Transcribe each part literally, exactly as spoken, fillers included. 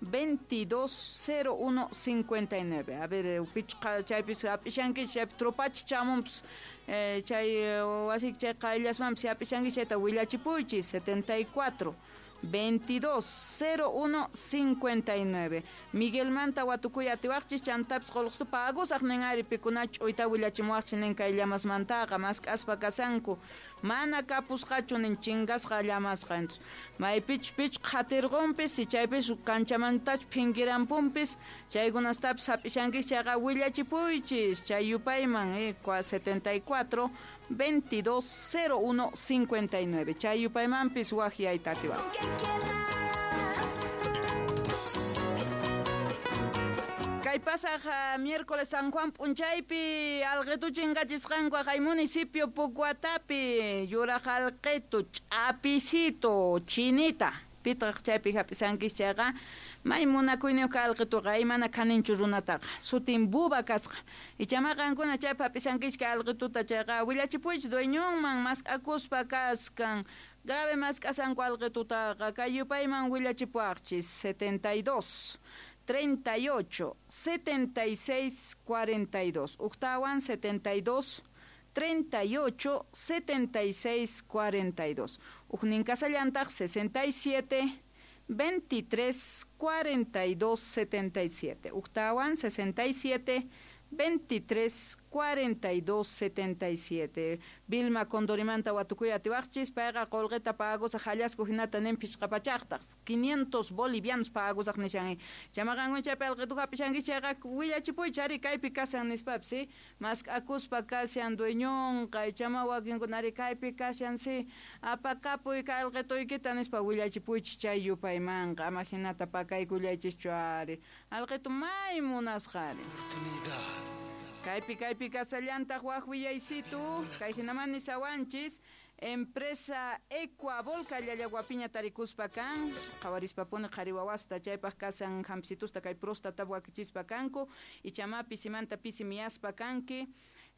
veintidós cero uno cincuenta y nueve. A ver, pichqa chaypis hap'ishankichis, chaypi tropachi chamunpis, eh, chay wasiki chay qayllasmanpis hap'ishankichis, chayta willachipuychis setenta y cuatro veintidós cero uno cincuenta y nueve. Miguelmanta watukuy atiwaqchis, chantapis qolqstu pagusaq nin ari pikunach uyta willachimuwaqchis nin kay llamasmantaqa mask'aspa kasanku mana kapusqachu nin chingasqa llamasqa. Entonces maypich pich qhatirqunpis si chaypis kanchamantach phinkirampunpis chaykunastapis hap'ishankis chayqa willachipuychis chay yupayman eh, setenta y cuatro veintidós cero uno cincuenta y nueve. Chay yupaymanpis waqyayta atiwaq. Kay pasaj miércoles San Juan p'unchaypi alqitu chinkachisqanku kay municipio Pucuatapi yuraq alqitu ch'apisito chinita pitaq chaypi hap'isankis chayqa may munakuyniyuq alqituqa mana kaninchu runataqa sutin buba kasqa ichama qankuna chaypi hap'isankis kay alqituta chayqa willachipuychis dueñonman mask'akuspa kaskan grave mask'asanku alqitutaqa kay yupayman willachipuwaqchis setenta y dos treinta y ocho setenta y seis cuarenta y dos. Uqtawan setenta y dos treinta y ocho setenta y seis cuarenta y dos. Uqnin kasallantaq sesenta y siete veintitrés cuarenta y dos setenta y siete. Uqtawan sesenta y siete veintitrés cuarenta y dos setenta y siete. Vilma Condorimanta watukuy atiwaqchis payqa qolqita pagusaq hallasku hinata nin pishqapachaqtaq quinientos bolivianos pagusaq nishan chamaqanku chaypi alqitu hap'ishanki chayqa willachipuychis ari kaypi kashan nispapis si mask'akuspa kashan dueñonqa chama wakinkunari kaypi kashan si apakapuy kay alqituykita nispa willachipuychis chay yupaymanqa ama hinata pakaykullaychischu ari alqitu may munasqa ari. Kaypi kaypi kasallantaq waq willaysitu kay hinaman nisawanchis empresa Ecuabol Llallaguapiña tarikuspa kan qhawarispapuni qhari wawasta chaypaq kasan hampsitusta kay próstata wakichispa kanku ichama pisimanta pisi miyaspa kanki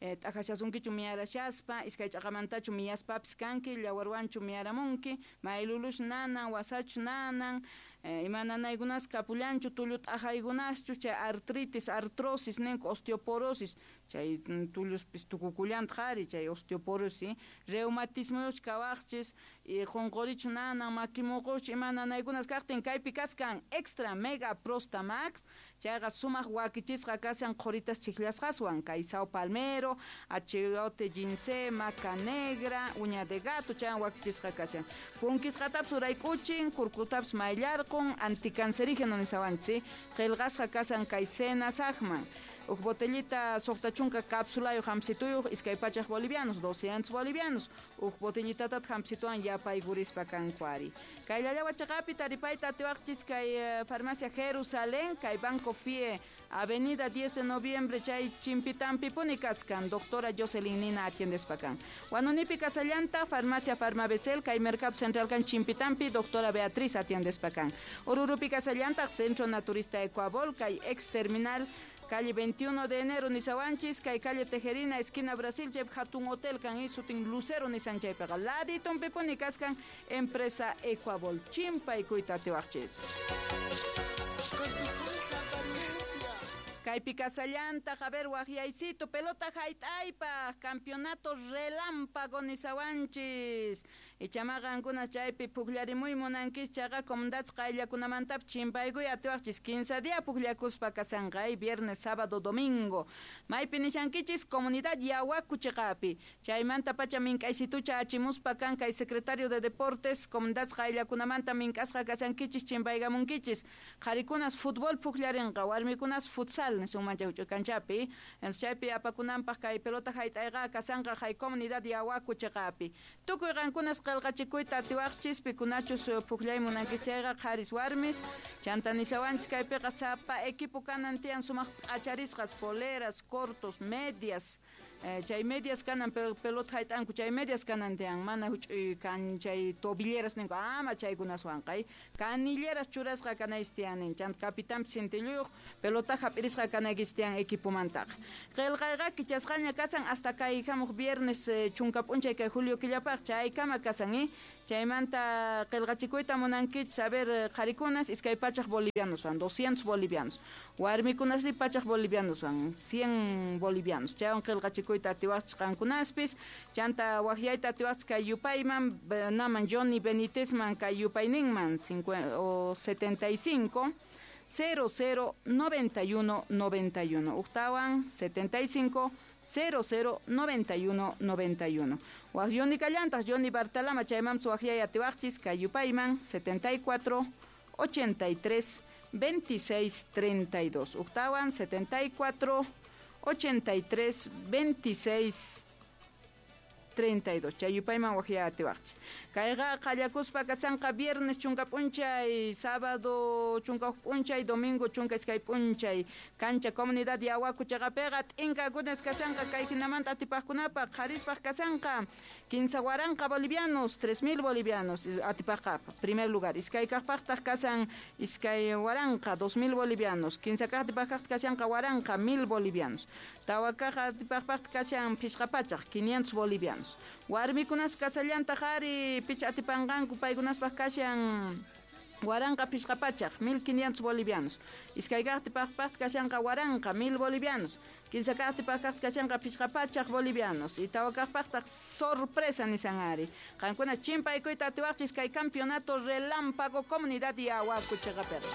eh, t'aqashasunkichu miyarashaspa iskay ch'aqamantachu miyaspapis kanki llawarwanchu miyaramunki maylulush nanan wasachu nanan eh, ima nanaykunas kapullanchu tullu t'aqaykunaschu chay artritis artrosis ninku osteoporosis chay tulluspis tukukullantaq ari chay osteoporosis reumatismoyuch kawaqchis y qunqurichu nanan makimuquch ima nanaykunas kaqtin kaypi kaskan extra mega prostamax chayqa sumaq wakichisqa kashan qhuritas chiklasqaswan kay sao palmero achiote ginseng maca negra uña de gato chaywan wakichisqa kashan punkisqatapis urayk'uchin kurkutapis mayllarqun anticancerígeno nisawanchis qillqasqa kashan kay senasaqman uj botellita suqta chunka cápsulayuq hampsituyuq iskay pachaq bolivianos doscientos bolivianos uj botellitatat hampsituwan yapaykurispa kanku ari kay Llallawachaqapi taripayta atiwaqchis kay farmacia Jerusalén kay Banco F I E Avenida diez de noviembre chay Chimpitampipuni kaskan doctora Jocelyn Nina atiendespa kan Huanunipi kasallanta farmacia Farmabecel kay Mercado Central kan Chimpitampi doctora Beatriz atiendespa kan Ururupi kasallanta Centro Naturista Ecuabol kay ex terminal calle veintiuno de enero nisawanchis kay calle Tejerina esquina Brasil chaypi hatun hotel kan sutin Lucero nisan chaypiqa laditonpipuni kaskan empresa Ecuabol chimpaykuyta atiwaqchis. Kaypi kasallantaq, a ver, waqyaysito, pelota hayt'aypaq, campeonato relámpago nisawanchis. Ichamaqa chaypi pukllarimuy munankis chayqa comunidades qayllakunamantapis chimpaykuy atiwaqchis quince día pukllakuspa kasanqa, viernes, sábado, domingo. Maypi nishankichis comunidad Yahuacu chiqapi. Chaymanta pacha mink'aysitucha achimuspa kan kay secretario de deportes comunidades qayllakunamanta mink'asqa kasankichis chimpaykamunkichis. Qharikunas fútbol pukllarinqa, warmikunas futsal nisunman chay kanchapi. Chaypi apakunanpaq kay pelota hayt'ayqa kasanqa hay comunidad Yahuacu chiqapi. Tukuy qankunas qillqachikuyta atiwaqchis pikunachus pukllay munankichis chayqa qharis warmis chanta nisawanchis kaypiqa sapa equipo kanan tiyan sumaq p'acharisqas poleras, cortos, medias. Chay medias kanan pelota hayt'anku chay medias kanan tiyan mana huch'uy kan chay tobilleras ninku ama chaykunaswanqa canilleras churasqa kanaychis tiyan chanta capitanpis sintilluyuq pelota hap'irisqa kanaykichis tiyan equipomantaqa. Qillqayqa kichasqaña kasan hasta kay hamuq viernes chunka p'unchay kay julio killapaq chaykama kasan Chaymanta qillqachikuyta munankichis, a ver, qharikunas iskay pachaj bolivianos van, doscientos bolivianos. Warmikunasri pachaj bolivianos van, cien bolivianos. Chaywan qillqachikuyta atiwaqchis qankunaspis, chanta waqyayta atiwaqchis kay yupayman, naman Johnny Benítezman kay yupayninman o setenta y cinco cero cero noventa y uno noventa y uno. Uqtawan setenta y cinco cero cero noventa y uno noventa y uno. Waq Johnny Callantas, Johnny Bartalama, chaymam suwaqyay atiwaqchis kay yupayman setenta y cuatro ochenta y tres veintiséis treinta y dos. Uqtawan setenta y cuatro ochenta y tres veintiséis treinta y dos. Chay yupayman waqyay atiwaqchis. Kayqa qallakuspa kasanqa viernes chunka p'unchay, sábado chunka huk p'unchay, domingo chunka iskay p'unchay. Cancha comunidad Yawaku chaqapiqa t'inkakunas kasanqa kay hinamanta atipaqkunapaq qharispaq kasanqa kinsa waranqa bolivianos, tres mil bolivianos atipaqqa primer lugar. Iskay kaqpaqtaq kasan iskay waranqa, dos mil bolivianos. Kinsa kaq atipaqkaq kashanqa waranqa, mil bolivianos. Tawa kaq atipaqpaq kashan phishqa pachaq, quinientos bolivianos. Warmikunaspaq kasallantaq ari picha atipanqanku paykunaspaq kashan waranqa phishqa pachaq, mil quinientos bolivianos. Iskay kaq atipaqpaq kashanqa waranqa, mil bolivianos. Kinsa kaq atipaqkaq kashanqa phishqa pachaq bolivianos. Y tawa kaqpaqtaq sorpresa nisan ari. Qankuna chimpaykuyta atiwaqchis kay campeonato relámpago comunidad Yawaku chaqapiqa.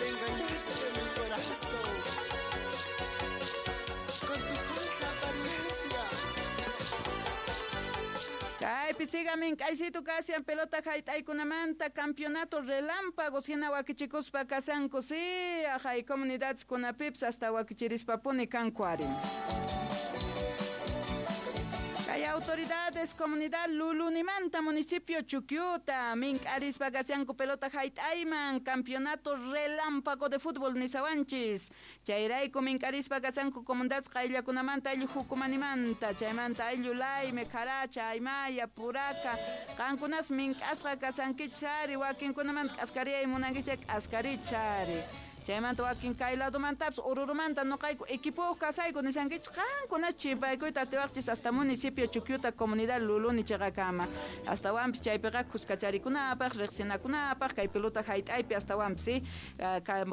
Le engañaste mi corazón con tu falsa apariencia. Kaypi sigamin k'aysitu kasian pelota hayt'aykunamanta campeonato relámpago hina wakichikuspa kasanku si ajay comunidades kunapipis hasta wakichirispapuni kanku ari. Kay autoridades comunidad Lulunimanta municipio Chuquiuta mink'arispa kasianku pelota hayt'ayman campeonato relámpago de fútbol nisawanchis. Chayrayku mink'arispa kasanku comunidades qayllakunamanta ayllu hukumanimanta chaymanta ayllu Layme, Caracha, Aymaya, Puraca qankunas mink'asqa kasankichis ari wakinkunamanta k'askariyay munankichis k'askarichis ari. Chaymanta wakin kay ladomantapis Orurumanta noqayku equipo kasayku nisankichis qankunas chimpaykuyta atiwaqchis hasta municipio Chuquiuta comunidad Luluni chaqakama. Astawanpis chaypiqa kuskacharikunapaq riqsinakunapaq kay pelota hayt'aypi astawanpis si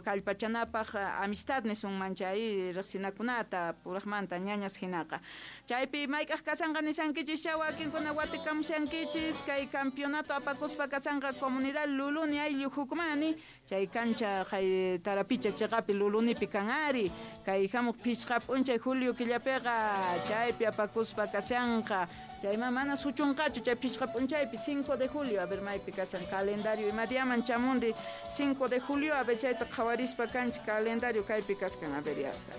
kallpachanapaq amistad nisunman chay riqsinakunata puraqmanta ñañas hinaqa. Chaypi mayk'aq kasanqa nisankichis cha wakinkuna watikamushankichis kay campeonato apakuspa kasanqa comunidad Luluni ayllu hukumani chay cancha kay tarapicha chaqapi Lulunipi kan ari kay hamuq phishqa p'unchay julio killapiqa chaypi apakuspa kasanqa chayman mana suchunqachu chay phishqa p'unchaypi cinco de julio a ver maypi kasan calendario imadiaman chamundi cinco de julio a ver chayta qhawarispa kanchik calendario kaypi kaskan a ver ya hasta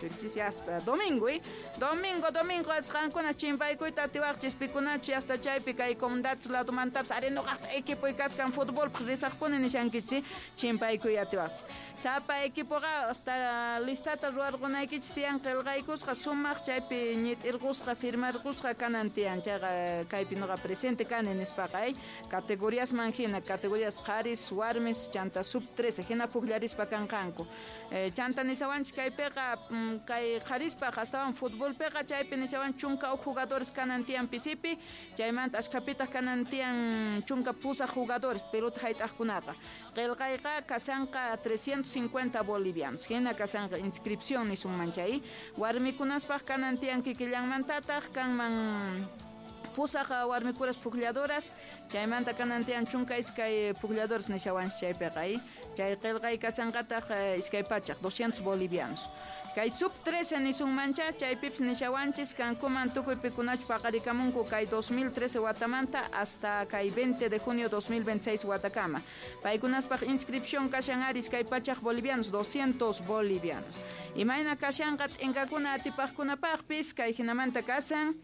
suchunchis hasta domingo eh domingo domingo asqankuna chimpaykuyta atiwaqchis pikunachu hasta chaypi kay comunidades ladomantapis ari noqaqta equipoy kaskan futbolpaq risaqpuni nishankichis chimpaykuy atiwaqchis. Sapa equipoqa hasta listata ruwarqunaykichis tiyan qillqaykusqa sumaq chaypi ñit'irqusqa firmarqusqa kanan tiyan chayqa kaypi noqa presente kani nispaqa eh categoriasman hina categorías qharis warmis chanta sub trece hina pukllarispa kanqanku. Eh, chanta nisawanchis kaypiqa kay qharispaq astawan futbolpiqa chaypi nisawan chunka huk jugadores kanan tiyan pisipi chaymanta ashkhapitaq kanan tiyan chunka pusaq jugadores pelota hayt'aqkunaqa. Qillqayqa kasanqa trescientos cincuenta bolivianos hina kasanqa inscripción nisunman chay warmikunaspaq kanan tiyan kikillanmantataq kanman pusaq warmikuras puklladoras chaymanta kanan tiyan chunka iskay puklladoras nishawanchis chaypiqa chay qillqay kasanqataq iskay pachaq doscientos bolivianos. Kay sub trece nisunmancha chaypipis nishawanchis kankuman tukuy pikunachu paqarikamunku kay dos mil trece watamanta hasta kay veinte de junio dos mil veintiséis watakama. Paykunaspaq inscripción kashan ari iskay pachaq bolivianos doscientos bolivianos. Imayna kashanqa t'inkakuna atipaqkunapaqpis kay hinamanta kasan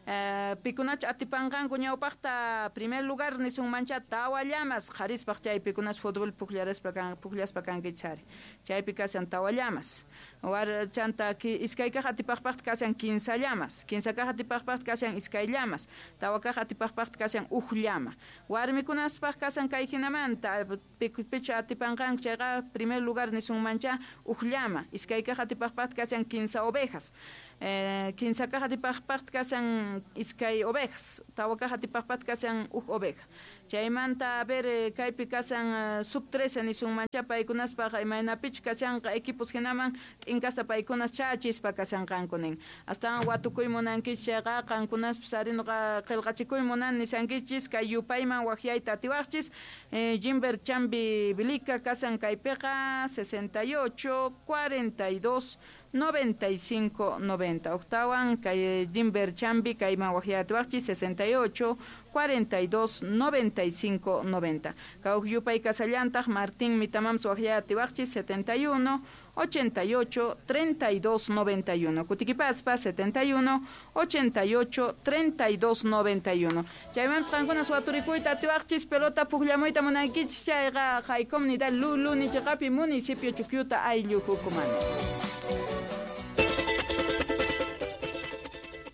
Uh, pikunachu atipanqanku ñawpaqta primer lugar nisunmancha tawa llamas qharispaq chay pikunachu fútbol pukllaraspa kan pukllaspa kankichis ari chaypi kasan tawa llamas. War chanta iskay kaq atipaqpaqta kashan kinsa llamas, kinsa kaq atipaqpaqta kashan iskay llamas, tawa kaq atipaqpaqta kashan uj llama. Warmikunaspaq kashan kay hinamanta picha atipanqanku chayqa primer lugar nisunmancha uj llama, iskay kaq atipaqpaqta kashan kinsa ovejas. Eh, kinsa kaq atipaqpaqta kashan iskay ovejas, tawa kaq atipaqpaqta kashan uj oveja. Chaymanta a ver kaypi kashan sub trece nisunmancha paykunaspaq imaynapichu kashanqa equipos hinaman t'inkasta paykunas chachispa kashanqanku nin. Astawan watukuy munankichis chayqa qankunaspis ari nuqa qillqachikuy munan nisankichis kay yupayman waqyayta atiwaqchis. Eh, Jimber Chambi Bilika kashan kaypiqa sesenta y ocho, cuarenta y dos, noventa y cinco, noventa. Octawan kay Jimber Chambi kayman waqyayta atiwaqchis sesenta y ocho, cuarenta y dos, noventa y cinco, noventa. Kawq yupay kasallantaq Martín Mitamams waqyayta atiwaqchis setenta y uno, ochenta y ocho, treinta y dos, noventa y uno. Kutikipaspa setenta y uno, ochenta y ocho, treinta y dos, noventa y uno. Chaymanpas qankunas waturikuyta atiwaqchis pelota pukllamuyta munaykichis chayqa hay comunidad Lulu nichiqapi municipio Chukyuta ayllu hukumani.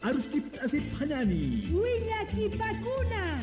Aruskip asip hanani. Willakipakuna.